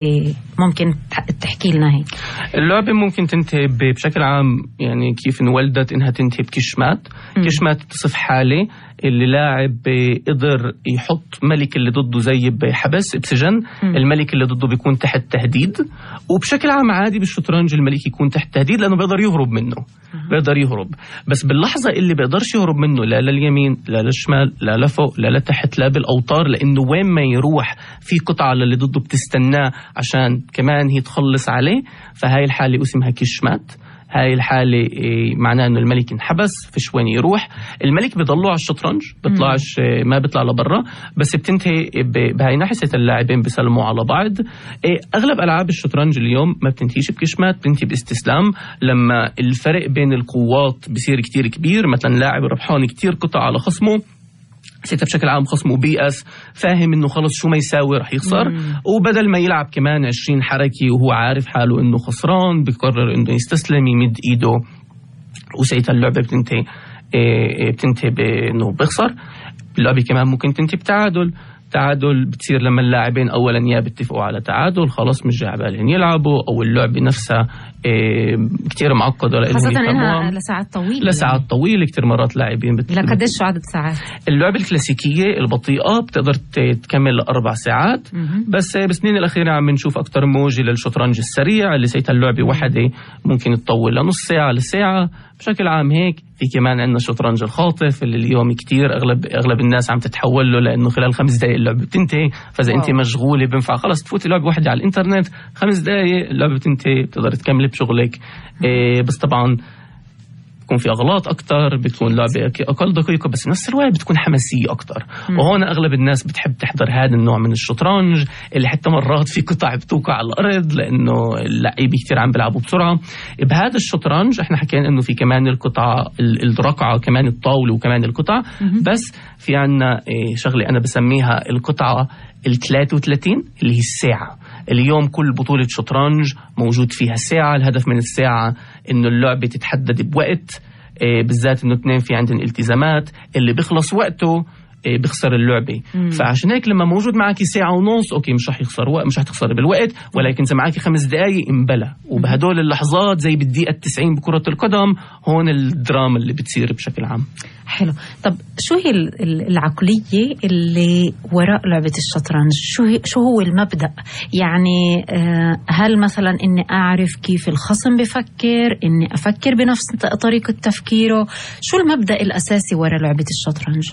ممكن تحكي لنا هيك؟ اللعبة ممكن تنتهي بشكل عام، يعني كيف انولدت انها تنتهي بكشمات. كشمات تصف حالة اللي لاعب قدر يحط ملك اللي ضده زي بحبس بسجن. الملك اللي ضده بيكون تحت تهديد، وبشكل عام عادي بالشطرنج الملك يكون تحت تهديد لأنه بيقدر يهرب منه. بيقدر يهرب، بس باللحظة اللي بيقدرش يهرب منه لا لليمين لا للشمال لا لفوق لا لتحت لا بالأوتار، لأنه وين ما يروح في قطعة اللي ضده بتستناه عشان كمان هي تخلص عليه. فهاي الحالة اسمها كشمات. هاي الحالة معناه انه الملك انحبس، فيش وين يروح. الملك بيضلوا على الشطرنج، بيطلعش، ما بيطلع لبرا، بس بتنتهي بهاي نحسة اللاعبين بيسلموا على بعض. اغلب العاب الشطرنج اليوم ما بتنتهيش بكشمات، بتنتهي باستسلام. لما الفرق بين القوات بصير كتير كبير، مثلا لاعب ربحان كتير قطع على خصمه، سيتا بشكل عام خصمه بيأس، فاهم انه خلص شو ما يساوي رح يخسر، وبدل ما يلعب كمان 20 حركة وهو عارف حاله انه خسران، بيقرر انه يستسلم يمد ايده، وسيتا اللعبة بتنتهي بانه بيخسر. اللعبة كمان ممكن تنتهي بتعادل. تعادل بتصير لما اللاعبين اولا يا بيتفقوا على تعادل، خلاص مش جاي بالهم يلعبوا، او اللعبة نفسها كتير معقدة خاصة انها لساعات طويلة كتير مرات لاعبين لقديش شو عدد ساعات؟ اللعبة الكلاسيكية البطيئة بتقدر تكمل ل4 ساعات. بس بالسنين الأخيرة عم نشوف أكتر موجة للشطرنج السريع اللي سيتها اللعبة واحدة ممكن تطول لنص ساعة لساعة. بشكل عام هيك في كمان عندنا الشطرنج الخاطف اللي اليوم كتير أغلب الناس عم تتحول له، لأنه خلال 5 دقائق اللعبة بتنتهي. فإذا أنت مشغولة بنفع خلاص تفوتي لعبة واحدة على الإنترنت، 5 دقائق اللعبة بتنتهي، بتقدر تكملي بشغلك. بس طبعا بتكون في أغلاط أكتر، بتكون لعبة أقل دقيقة، بس نفس الوقت بتكون حماسية أكتر. وهون أغلب الناس بتحب تحضر هذا النوع من الشطرنج اللي حتى مرات في قطع بتوقع على الأرض لأنه اللعيبة كتير عم بيلعبوا بسرعة. بهذا الشطرنج احنا حكينا إنه في كمان القطعة الرقعة، كمان الطاولة، وكمان القطع. بس في عنا شغلة أنا بسميها القطعة 33 اللي هي الساعة. اليوم كل بطولة شطرنج موجود فيها ساعة. الهدف من الساعة إنه اللعبة تتحدد بوقت، بالذات إنه 2 في عندهم التزامات، اللي بيخلص وقته بيخسر اللعبة. فعشان هيك لما موجود معك 1.5 ساعة أوكي مش رح يخسر وقت، مش رح تخسر بالوقت، ولكن إذا معك 5 دقايق انبلى. وبهدول اللحظات زي بالدقيقة 90 بكرة القدم، هون الدراما اللي بتصير بشكل عام. حلو. طب شو هي العقلية اللي وراء لعبة الشطرنج؟ شو هو المبدأ؟ يعني هل مثلا إني أعرف كيف الخصم بفكر، إني أفكر بنفس طريقة تفكيره؟ شو المبدأ الأساسي وراء لعبة الشطرنج؟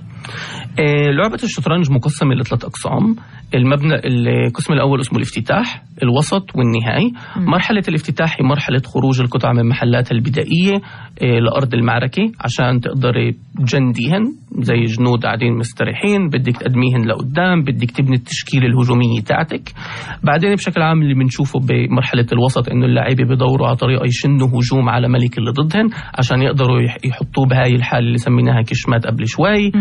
لعبة الشطرنج مقسمة ل3 أقسام. القسم الأول اسمه الافتتاح، الوسط والنهائي. مرحلة الافتتاح هي مرحلة خروج القطع من محلاتها البدائية لأرض المعركة عشان تقدري تجنديهن زي جنود قاعدين مستريحين، بدك تقدميهن لقدام، بدك تبني التشكيلة الهجومية تاعتك. بعدين بشكل عام اللي بنشوفه بمرحلة الوسط إنه اللاعبين بيدوروا على طريقة يشنوا هجوم على ملك اللي ضدهن عشان يقدروا يحطوه بهاي الحالة اللي سميناها كشمات قبل شوي.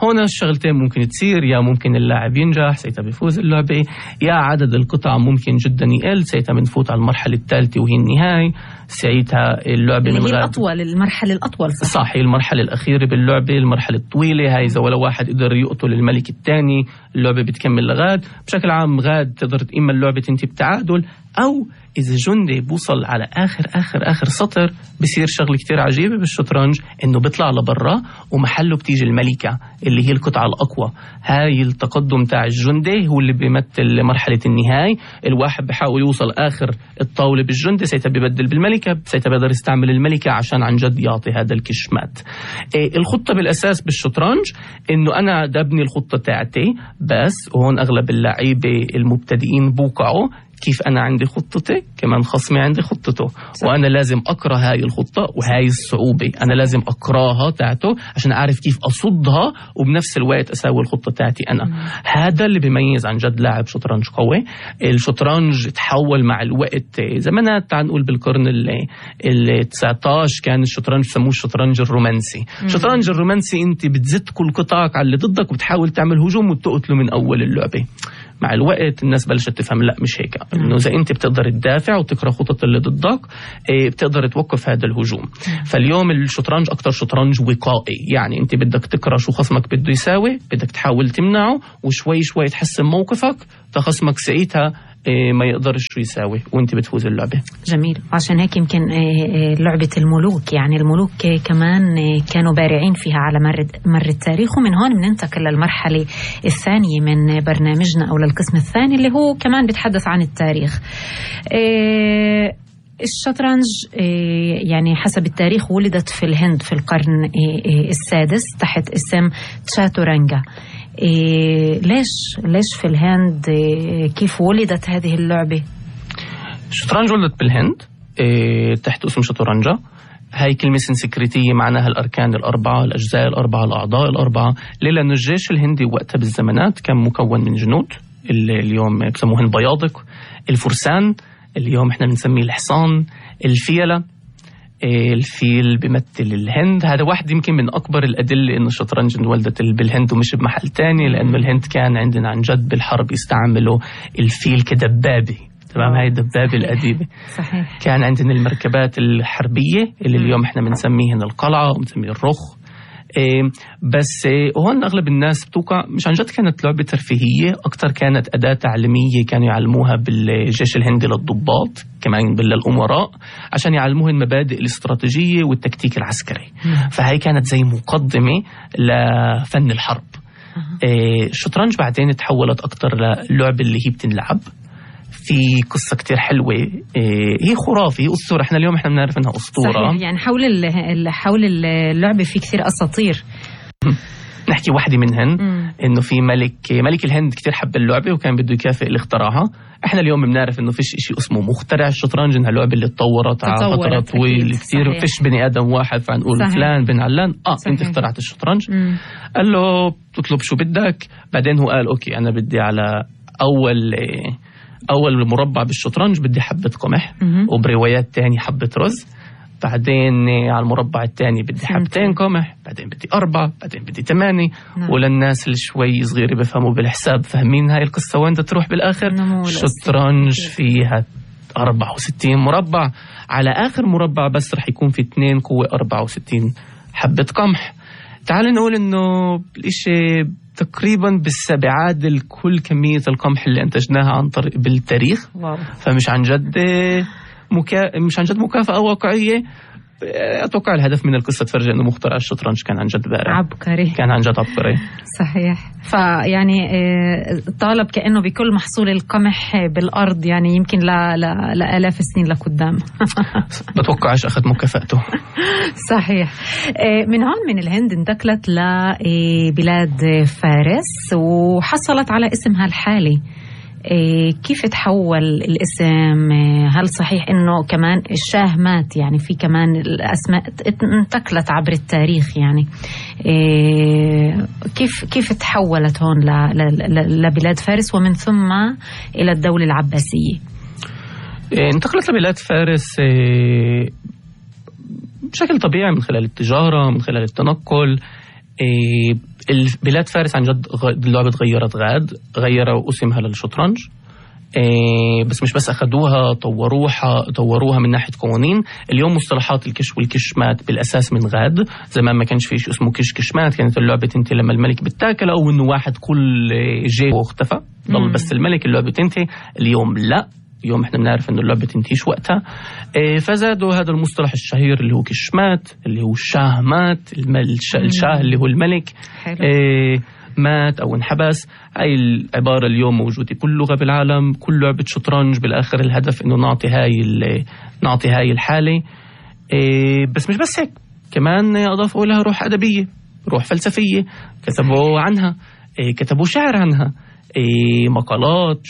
هنا الشغلتين ممكن تصير، يا ممكن اللاعب ينجح سيتا بيفوز اللعبة، يا عدد القطع ممكن جدا يقل سيتا بنفوت على المرحلة الثالثة وهي النهاية. ساعتها اللعبة اللي هي الأطول، المرحلة الأطول. صح، هي المرحلة الأخيرة باللعبة، المرحلة الطويلة. هاي إذا ولا واحد قدر يقتل الملك الثاني اللعبة بتكمل لغاد. بشكل عام غاد تقدر إما اللعبة تنتهي بتعادل، أو إذا جندي بوصل على آخر سطر بصير شغل كتير عجيبة بالشطرنج، إنه بيطلع لبرا ومحله بتيجي الملكة اللي هي القطعة الأقوى. هاي التقدم تاع الجندي هو اللي بيمثل مرحلة النهاية. الواحد بحاول يوصل آخر الطاولة بالجندي، سيتا بيبدل بالملكة، سيتا بيقدر يستعمل الملكة عشان عن جد يعطي هذا الكشمات. الخطة بالأساس بالشطرنج إنه أنا دبني الخطة تاعتي بس، وهون أغلب اللعيبة المبتدئين بوقعوا كيف أنا عندي خطتي كمان خصمي عندي خطته، وأنا لازم أقرأ هاي الخطة وهاي الصعوبة أنا لازم أقرأها تاعته عشان أعرف كيف أصدها وبنفس الوقت أساوي الخطة تاعتي أنا. هذا اللي بيميز عن جد لاعب شطرنج قوي. الشطرنج تحول مع الوقت زمانات، تعال نقول بالقرن ال19 كان الشطرنج سموه الشطرنج الرومانسي. الشطرنج الرومانسي أنت بتزت كل قطعك على اللي ضدك وبتحاول تعمل هجوم وتقتله من أول اللعبة. مع الوقت الناس بلشت تفهم لا مش هيك، انه اذا انت بتقدر تدافع وتقرا خطط اللي ضدك بتقدر توقف هذا الهجوم. فاليوم الشطرنج اكتر شطرنج وقائي، يعني انت بدك تقرا شو خصمك بده يساوي، بدك تحاول تمنعه وشوي شوي تحسن موقفك تخصمك ساعتها ما يقدرش شو يساوي وانت بتفوز اللعبة. جميل. عشان هيك يمكن لعبة الملوك، يعني الملوك كمان كانوا بارعين فيها على مر التاريخ. ومن هون بننتقل للمرحلة الثانية من برنامجنا أو للقسم الثاني اللي هو كمان بيتحدث عن التاريخ. الشطرنج يعني حسب التاريخ ولدت في الهند في القرن السادس تحت اسم تشاتورانجا. ليش في الهند؟ كيف ولدت هذه اللعبة؟ الشطرنج ولدت بالهند تحت اسم شطرنجا. هاي كلمة سنسكريتية معناها الأركان الأربعة، الأجزاء الأربعة، الأعضاء الأربعة. ليه؟ لأن الجيش الهندي وقتها بالزمانات كان مكون من جنود اللي اليوم بسموهن بياضك، الفرسان اللي اليوم احنا بنسميه الحصان، الفيلة. الفيل بيمثل الهند. هذا واحد يمكن من أكبر الأدلة إنه الشطرنج انولدت بالهند ومش بمحل تاني، لأنه الهند كان عندنا عن جد بالحرب يستعملوا الفيل كدبابة. تمام، هاي الدبابة القديمة. صحيح. كان عندنا المركبات الحربية اللي اليوم احنا بنسميهن القلعة وبنسميه الرخ. بس هون أغلب الناس بتوقع مش عن جد كانت لعبة ترفيهية، أكتر كانت أداة تعليمية كانوا يعلموها بالجيش الهندي للضباط كمان للأمراء عشان يعلموها المبادئ الاستراتيجية والتكتيك العسكري. فهي كانت زي مقدمة لفن الحرب. الشطرنج بعدين تحولت أكتر للعبة اللي هي بتنلعب في قصة كتير حلوة. هي خرافة، هي أسطورة. احنا اليوم احنا بنعرف انها أسطورة. صحيح. يعني حول اللعبة في كثير أساطير. نحكي واحدة منهن انه في ملك الهند كتير حب اللعبة وكان بده يكافئ اللي اخترعها. احنا اليوم بنعرف انه فيش اشي اسمه مخترع الشطرنج، انها لعبة اللي تطورت على فترة طويلة كتير. فيش بني ادم واحد فنقول فلان بن علان انت اخترعت الشطرنج. قال له تطلب شو بدك. بعدين هو قال اوكي انا بدي على أول مربع بالشطرنج بدي حبة قمح، وبروايات تاني حبة رز. بعدين على المربع التاني بدي حبتين قمح، بعدين بدي 4، بعدين بدي 8. وللناس اللي شوي صغيرة بفهموا بالحساب فاهمين هاي القصة وين تروح بالآخر. الشطرنج فيها 64 مربع. على آخر مربع بس رح يكون في 2 قوة 64 حبة قمح. تعال نقول إنه الإشي تقريبا بيعادل كل كمية القمح اللي انتجناها عن طريق بالتاريخ. فمش عن جد مش عن جد مكافأة واقعية. أتوقع الهدف من القصة تفرجي إنه مخترع الشطرنج كان عن جد بارع، عبقري، كان عن جد عبقري. صحيح. فيعني طالب كأنه بكل محصول القمح بالأرض، يعني يمكن لآلاف السنين لقدام. بتوقعش أخذ مكافأته. صحيح. من هون من الهند انتقلت لبلاد فارس وحصلت على اسمها الحالي. كيف تحول الاسم؟ هل صحيح انه كمان الشاه مات؟ يعني في كمان الاسماء انتقلت عبر التاريخ. يعني كيف تحولت هون لبلاد فارس ومن ثم الى الدولة العباسية؟ انتقلت لبلاد فارس بشكل طبيعي من خلال التجارة، من خلال التنقل. بلاد فارس عن جد اللعبة غيروا اسمها للشطرنج. بس مش بس أخذوها طوروها من ناحية قوانين. اليوم مصطلحات الكش والكشمات بالأساس من غاد. زمان ما كانش فيش اسمه كشمات، كانت اللعبة تنتهي لما الملك بتاكل أو إنه واحد كل جاي واختفى ضل بس الملك اللعبة تنتهي. اليوم لا، اليوم احنا بنعرف انه اللعبة تنتهيش وقتها. فزادوا هذا المصطلح الشهير اللي هو كشمات، اللي هو الشاه مات. الشاه اللي هو الملك مات او انحبس. هاي العبارة اليوم موجودة كل لغة بالعالم، كل لعبة شطرنج بالاخر الهدف انه نعطي هاي الحالة. بس مش بس هيك، كمان اضافوا لها روح ادبية، روح فلسفية. كتبوا عنها، كتبوا شعر عنها، مقالات،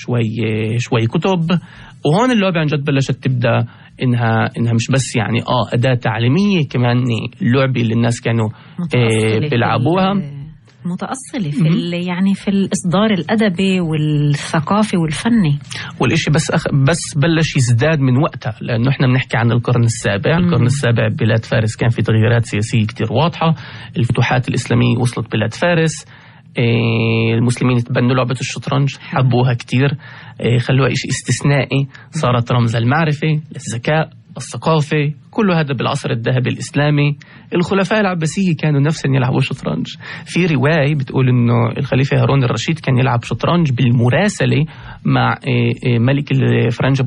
شوي كتب. وهون اللعبة عن جد بلشت تبدأ إنها مش بس يعني أداة تعليمية، كمان اللعبة اللي الناس كانوا بيلعبوها متأصلة في يعني في الإصدار الأدبي والثقافي والفني. والإشي بس بلش يزداد من وقتها، لأنه إحنا بنحكي عن القرن السابع. القرن السابع بلاد فارس كان في تغييرات سياسية كتير واضحة. الفتوحات الإسلامية وصلت بلاد فارس. المسلمين تبنوا لعبة الشطرنج، حبوها كتير، خلوها إشي استثنائي، صارت رمز المعرفة، للذكاء، الثقافة، كل هذا بالعصر الذهبي الإسلامي. الخلفاء العباسية كانوا نفسهم يلعبوا شطرنج. في رواية بتقول إنه الخليفة هارون الرشيد كان يلعب شطرنج بالمراسلة مع ملك الفرنجة